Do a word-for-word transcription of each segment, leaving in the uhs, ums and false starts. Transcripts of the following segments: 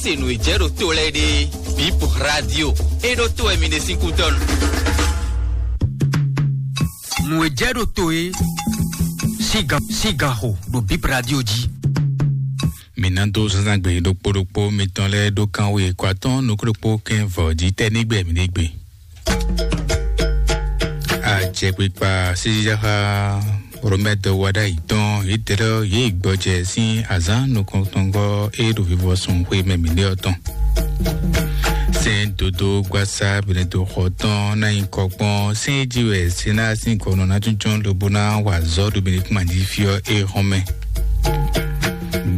Se nǔ e jɛ ɖo to lɛ́ɛ ɖe, Bip Radio, e ɖo to wɛ mi ɖe sín kútɔ́nu. Nǔ e jɛ ɖo to e sígan sígan xo ɖo Bip Radio jí. Mi ná dó zazagbe ɖokpó ɖokpó mitɔn lɛ́ɛ ɖó kánwé kɔ atɔ́ɔ́n nukúɖokpó kɛ́n vɔ̌ jí tɛ́ nígbɛ mi ɖé gbe. Ajɛkpikpa sísíjáxá Romɛdɔ wa ɖ'ayǐ tɔn yětɛ́ lɛ́ɛ yě yi gbɔjɛ sín azǎn nukɔntɔngɔ́ e ɖo vivɔsun xwe mɛ mǐɖé ɔ́ tɔn. Sɛ́n dodó gbasá Benɛto xɔ tɔn ná nyí kɔ kpɔ́n sɛ́n e jí wɛ Senáa sín gɔnɔ ná jínjɔ́n lobo ná wa azɔ̌ ɖo Benɛkúma jí fí ɔ́ é hɔn mɛ.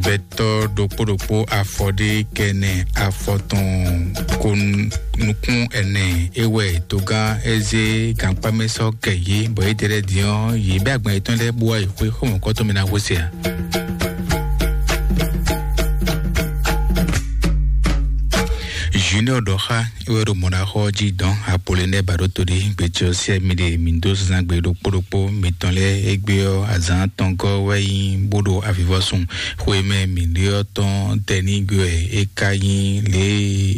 Gbɛtɔ́ ɖokpó ɖokpó afɔ ɖé kɛnɛ afɔ tɔn ko nukún ɛnɛ é wɛ togán é zé gankpá mɛ sɔ́ kɛ yě, bɔ yě ɖe lɛ́ɛ din ɔ́, yě bɛ́ agban yětɔn lɛ́ɛ bó wá yi xwé xɔmɔ̌kɔ́tɔn mɛ ná hwesɛ ǎ. Junior ɖɔ xá é wɛ ɖo mɔɖaxɔ jí dɔn apolonɛ baɖóto ɖé gbecɔ siɛ mi ɖe mi dó zazan gbe ɖokpó ɖokpó mitɔn lɛ́ɛ égbé ɔ́ azǎn tɔn gɔ́ wɛ nyí bó ɖo avivɔsun xwe mɛ mi ɖe ɔ́ tɔn tɛ ní gbé wɛ é ka nyí lě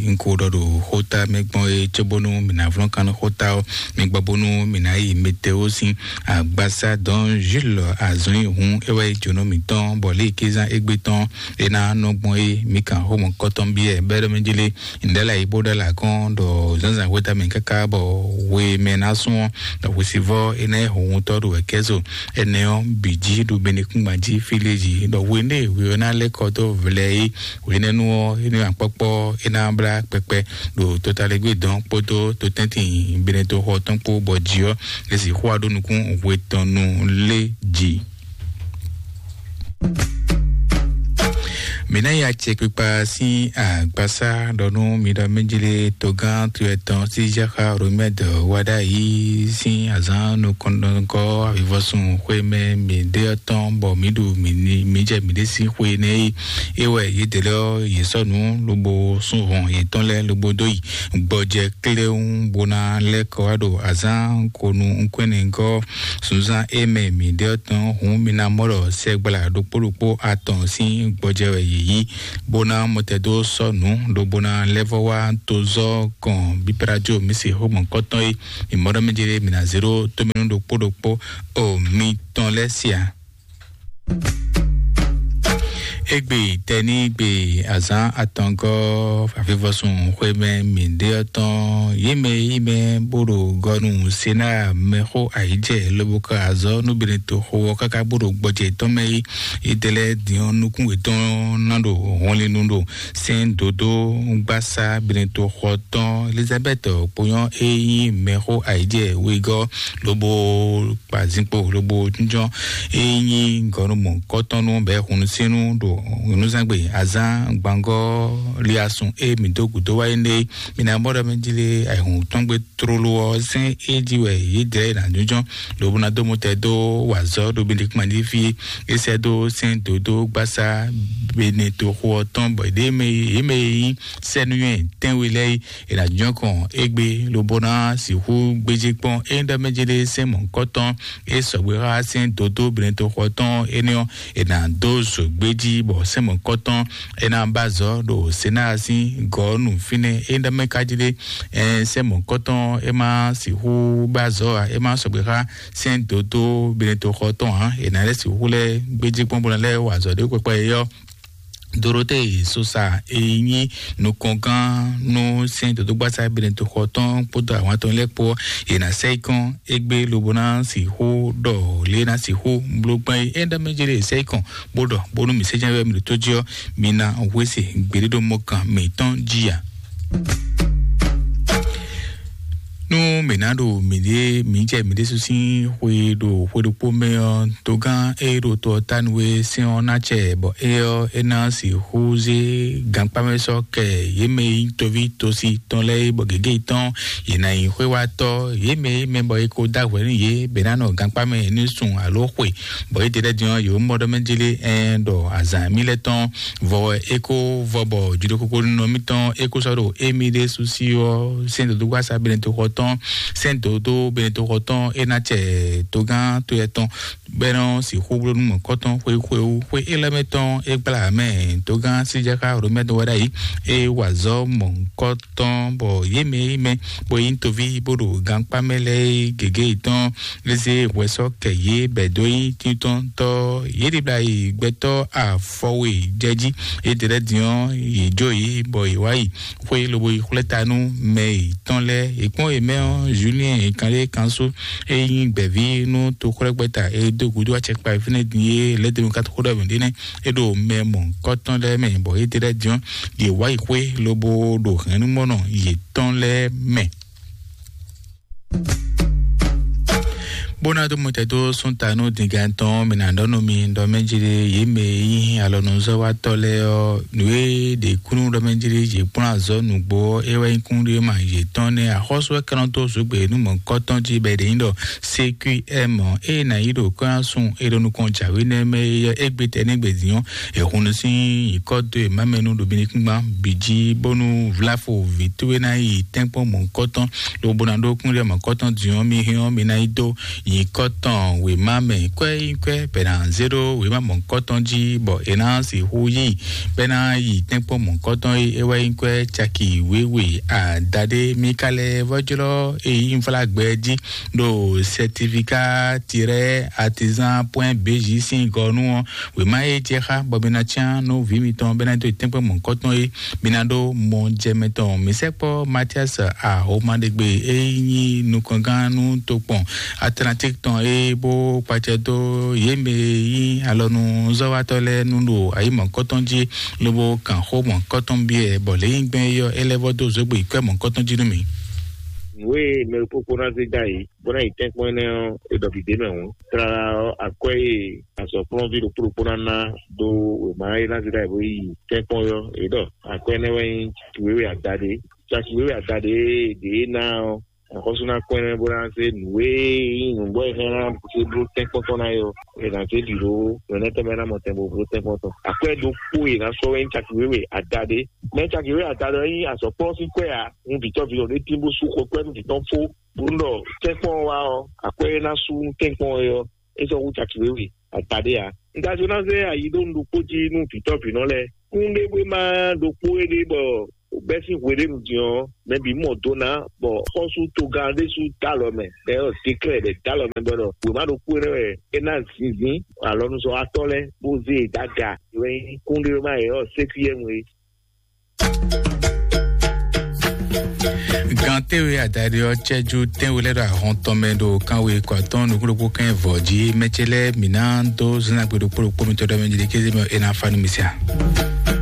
e un ko ɖɔ ɖo xóta mɛ gbɔn é cóbónú mi ná vlɔ́n kan nú xóta ɔ́ mi gbɔ bónú mi ná yi météo sín agbasa dɔn Jules azɔn yi hun é wɛ yi jónɔ mǐtɔn bɔ lě e kézán égbé tɔn é ná nɔ gbɔn é mi kan xó mɔ̌kɔtɔn biɛ bɛ́ ɖɔ mɛ jélé ǹdɛ́lɛ yí bó ɖɔ lǎkɔn ɖɔ zǎnzǎn hweta mɛ káká bɔ hwe mɛ ná sún ɔ́ ɖɔ hwesivɔ́ é ná yi hɔnhuntɔ́ ɖo wɛ̌kɛ́zo ɛnɛ ɔ́ bǐ jí ɖo benekúngban jí fí lé jí ɖɔ hwe ndé hwe ɔ́ ná lɛ́ kɔ dó vlɛ é hwenɛ́nu ɔ́ é ní akpɔ́kpɔ́ é ná blá kpɛkpɛ ɖo totaligbé dɔn kpódó totɛ́ntin benetoxɔ tɔn kpó bɔ jí ɔ́ é sixú wá ɖó nukún hwe tɔn nú lé jí. Mǐ ná yi acɛkpikpa sín agbasá ɖɔ nú mi ɖɔ mí jlé togán towe tɔn sí Jaxa Romɛd wa ɖ'ayǐ sín azǎn nukɔntɔn avivɔsun xwe mɛ mǐ ɖe ɔ́ tɔn bɔ mǐ ɖu mǐ jɛ mǐ ɖe sín xwe nɛ́ é. É wɛ yědɛɛ lɛ́ɛ ɔ́ yě sɔ́ nǔ lobo sú hɔn yětɔn lɛ́ɛ lobo dó yi gbɔjɛ kléwún bó ná lɛ́ kɔ wá ɖo azǎn ko nú nkwɛ́nɛngɔ́ sunzán e mɛ mǐ ɖe ɔ́ tɔn hǔn mi ná mɔ ɖɔ sɛgbla ɖokpó ɖokpó atɔn sín gbɔjɛ wɛ yě yí bó ná mɔtɛn dó sɔ́ nǔ lobo ná lɛ́ vɔ wá tozɔ́ kɔn bíprájo mǐ se xó mɔ̌kɔtɔn e mǐ mɔ ɖɔ mí jɛ mi ná zé ɖó tómɛnú ɖokpó ɖokpó o mitɔn lɛ́ɛ sia. Égbé tɛnígbe azǎn atɔngɔ́ avivɔsun xwemɛ mǐɖé ɔ́ tɔn yě mɛ yí mɛ bó ɖo gɔnu sena mɛxó ayǐjɛ lobo ka azɔ̌ nú Beneto xo ɔ́ káká bó ɖo gbɔjɛ tɔn mɛ yí. Yědɛlɛ diɔn nukún wětɔn ná ɖo hɔnlinu ɖo sɛ́n dodó gbasá Beneto xɔ tɔn Elizabɛt kponyɔ́ e nyí mɛxó ayǐjɛ wegɔ́ lobo kpa zinkpo lobo jínjɔ́n e nyí gɔnumɔ kɔtɔnu bɛ hunsinu ɖo nuzangbe azán gbangɔ liasun e mi dó gǔdo wá énɛ́ mi ná mɔ ɖɔ mɛ jí lé ayihun tɔn gbe tlóló ɔ́ sɛ́n é jí wɛ yě dlɛ́ ná jínjɔ́n lobo ná dó mɔ tɛ dó wazɔ́ ɖo bindikuma jí fí é sɛ́ dó sɛ́n dodó gbasá bene toxo ɔ́ tɔn bɔ yě mɛ yě mɛ yí sɛ́nuyɔ́ tɛ́nwe lɛ́ɛ yí è nǎ jínjɔ́n kɔn égbé lobo ná sixú gbéjé kpɔ́n é ɖɔ mɛ jí lé sɛ́n mɔ̌hunkɔtɔn é sɔgbe xá sɛ́n dodó Beneto xɔ tɔn énɛ́ ɔ́, è nǎ dó zǒgbé jí bɔ sɛ́n mɔ̌hunkɔtɔn é ná ba azɔ̌ ɖo Senáa sín gɔ̌ nu fínɛ́ é ɖɔ mɛ kájí ɖé. Ɛn sɛ́n mɔ̌hunkɔtɔn é má sixú ba azɔ̌ ǎ, é má sɔgbe xá sɛ́n dodó Beneto xɔ tɔn ǎ, è nǎ lɛ́ sixú lɛ́ gbéjé kpɔ́n bó ná lɛ́ wa azɔ̌ ɖé kpɛkpɛ é ɔ́. Dorothée Sosa e nyí nukɔngán nú sɛ́n dodógbasá Beneto xɔ tɔn kpódó ahwan tɔn lɛ́ɛ kpó yě ná sɛ yi kɔn égbé lobo ná sixú ɖɔ lě ná sixú bló gbɔn é é ɖɔ mɛ jɛ lě sɛ yi kɔn bó ɖɔ bónú mǐ sɛ́ jɛ́n wɛ mǐ ɖo tó jí ɔ́, mi ná hwesè gbeɖé ɖo mɔkan mǐtɔn jí ǎ. Nú mǐ ná ɖo mǐɖée mǐ jɛ mǐɖée sú sín xwe ɖo xwe ɖokpó mɛ ɔ́, togán e ɖo to ɔ́ ta nú we sɛ́n ɔ́ ná cɛ bɔ é ɔ́ é ná sixú zé gankpá mɛ sɔ́ kɛ yě mɛ e nyí toví tosi tɔn lɛ́ɛ é bɔ gěgé tɔn yě ná nyí xwéwatɔ́ yě mɛ e mɛ bɔ é ko dó ahwɛ nú yě bɛ ná nɔ gankpá mɛ ní sun alo xwe bɔ yě ɖe lɛ́ɛ din ɔ́ yǒ mɔ ɖɔ mɛ jí lé ɛn ɖɔ azǎn mí lɛ́ɛ tɔn vɔ wɛ é kó vɔ bɔ jǐɖokoko nɔ mítɔn é kó sɔ́ ɖo émí ɖé sú sí ɔ́ sɛ́n dodógbasá Beneto xɔ tɔn sɛ́n dǒ dó Benetoxɔ tɔn é ná cɛ togán to yɛ tɔn bɛnɔ sixú bló nú mɔ̌kɔtɔn xwé xwé wú. Xwé élɔ́ mɛ tɔn é gbla mɛ togán síjáká Romɛ dó wɛ ɖ'ayǐ. É wa azɔ̌ mɔ̌kɔtɔn bɔ yě mɛ yí mɛ bó nyí toví bó ɖo gankpá mɛ lɛ́ɛ gěgé yětɔn é zé hwɛsɔ́ kɛ yě bɛ̌ dó nyí tíntɔ́ntɔ́. Yě ɖibla yi gbɛtɔ́ afɔwe jɛ jí. Yě ɖe lɛ́ din ɔ́, yě jó yě bɔ yě wá yi xwé lobo yi xwlɛ́ ta nú mɛ yětɔn lɛ́ɛ. Yě kpɔ́n yě mɛ ɔ́, Julien Kanlé Kanso é nyí gbɛ̌ví nú toxwlɛ́gbɛ́ta é dó gǔdo acɛkpa fínɛ́ din é lɛ́ dó nú kátóxóɖɔmɛ ɖé nɛ́. É ɖo mɛ mɔ̌hunkɔtɔn lɛ́ɛ mɛ bɔ é ɖe lɛ́ɛ din ɔ́, yě wá yi xwé lobo ɖo hɛ̌nnumɔnɔ yětɔn lɛ́ɛ mɛ. Bó ná dó mɔtɛn dó sún ta nú dingɛn tɔn, mǐ ná ɖɔ nú mi ɖɔ mɛ jí ɖé, yě mɛ e nyí alɔnuzɔ́watɔ́ lɛ́ɛ ɔ́, nǔ e ɖe kúnnu ɖɔ mɛ jí ɖé yě kplɔ́n azɔ̌ nǔgbó ɔ́, é wɛ nyí kúnɖéma yětɔn nɛ́. Axɔ́sú wɛ kɛ́nɔ dó zǒgbe nú mɔ̌hunkɔtɔn jí bɔ è ɖe nyí ɖɔ C Q M ɔ́, ée ná yi ɖo kɔ́nyásun e ɖo nukɔn jǎwe nɛ́ mɛ é ɔ́, égbé tɛnɛ́gbe din ɔ́, è hun nú sín nyǐkɔ dó e má mɛ nú ɖo mi ní kúngban bǐ jí, bónú Vlafo vǐ towe ná yi tɛ́nkpɔ́n mɔ̌hunkɔtɔn lobo ná ɖó kúnɖéma mɔ̌hunkɔtɔn din ɔ́, mi hɛn ɔ́, mi ná yi dó nyǐkɔ tɔn wěma mɛ. Kwɛ́ nyí kwɛ́ bɔ è nǎ zé ɖó wěma mɔ̌hunkɔtɔn jí, bɔ è nǎ sixú yí bɔ é ná yi tɛ́nkpɔ́n mɔ̌hunkɔtɔn e é wɛ nyí kwɛ́ caki wěwe adaɖé. Mi ka lɛ́ vɔ́ jlɔ́ e nyí Vlagbɛ jí ɖo certificat tiret artisan point B J sín gɔ́ nú ɔ́, wěma e jɛ xá bɔ mi ná cyán nú vǐ mitɔn bɔ é ná dó yi tɛ́nkpɔ́n mɔ̌hunkɔtɔn é. Mi ná ɖó mɔjɛmɛ tɔn. Mǐ sɛkpɔ́ Mathias Ahomaɖegbe e nyí nukɔngán nú tokpɔn Atlantique tɔn é bó kpacɛ dó yě mɛ e nyí alɔnuzɔ́watɔ́ lɛ́ɛ nú ɖo ayǐ mɔ̌hunkɔtɔn jí lobo kan xó mɔ̌hunkɔtɔn byɔ́ ɛ, bɔ lě nyí gbɛn é ɔ́, é lɛ́ vɔ́ dó zǒgbe yi kwɛ́ mɔ̌hunkɔtɔn jí nú mì. Nǔ e mɛ ɖokpó kpó ná zé dó ayǐ bó ná yi tɛ́nkpɔ́n énɛ́ ɔ́, è ɖɔ bǐ d'é mɛ hǔn. Tlala ɔ́, akwɛ́ e azɔ̌kplɔ́nví ɖokpó ɖokpó ná ná dó wěma e ná zé ɖó ayǐ bó yi tɛ́nkpɔ́n ɔ́, è ɖɔ akwɛ́ énɛ́ wɛ nyí caki wěwe adaɖé. Caki wěwe adaɖé e ɖě ná ɔ́, axɔ́sú ná kpɔ́n ɛnɛ́ bó ná zé nǔ e nyí nǔgbó e hɛn ná zé bló tɛ́nkpɔ́n tɔn ná é ɔ́, è nǎ zé ɖi ɖó nǔ énɛ́ tɔn mɛ ná mɔ tɛn bó bló tɛ́nkpɔ́n tɔn. Akwɛ́ ɖokpó e è nǎ sɔ́ wɛ nyí caki wěwe adaɖé. Mɛ caki wěwe adaɖé ɔ́ nyí azɔ̌kplɔ́n sín kwɛ́ ǎ. Un vǐ tɔ́ vǐ lɔ ɖé tín bó sú xɔ kwɛ́ nú vǐ tɔn fó. Bó nɔ tɛ́nkpɔ́n ɔ́ wá ɔ́, akwɛ́ e ná sú nú tɛ́nkpɔ́n ɔ́ é ɔ́, é sɔ́ hú caki wěwe adaɖé ǎ. Un ka jló ná zé ayi ɖó un ɖokpó jí nú vǐtɔ́ vǐnɔ lɛ́ɛ. Kúnɖéwéma ɖokpó éɖée bɔ bɛ́ sín hweɖénu din ɔ́, mɛ bǐ mɔ do ná, bɔ xɔ́sú togán ɖésú dó alɔ mɛ, bɔ é ɔ́ déklɛ́ bɔ é dó alɔ mɛ bɔ ɖɔ wěma ɖokpó énɛ́ wɛ é ná zinzin alɔnuzɔ́watɔ́ lɛ́ɛ bó zé e dó aga. É wɛ nyí kúnɖéwéma e ɔ́ sékúyɛ́nu é. Gan tɛ́nwe adaɖé ɔ́ cɛ́jú tɛ́nwe lɛ́ɛ ɖo ahɔn tɔn mɛ ɖo kanwe kɔ atɔ́ɔ́n nukúnɖokpó kɛn vɔ̌ jí. Mɛ ce lɛ́ɛ mǐ ná dó zɔ́nagbe ɖokpó ɖokpó mitɔn ɖɔ mɛ jí ɖé kéze mɛ é ná fá nú mi sia.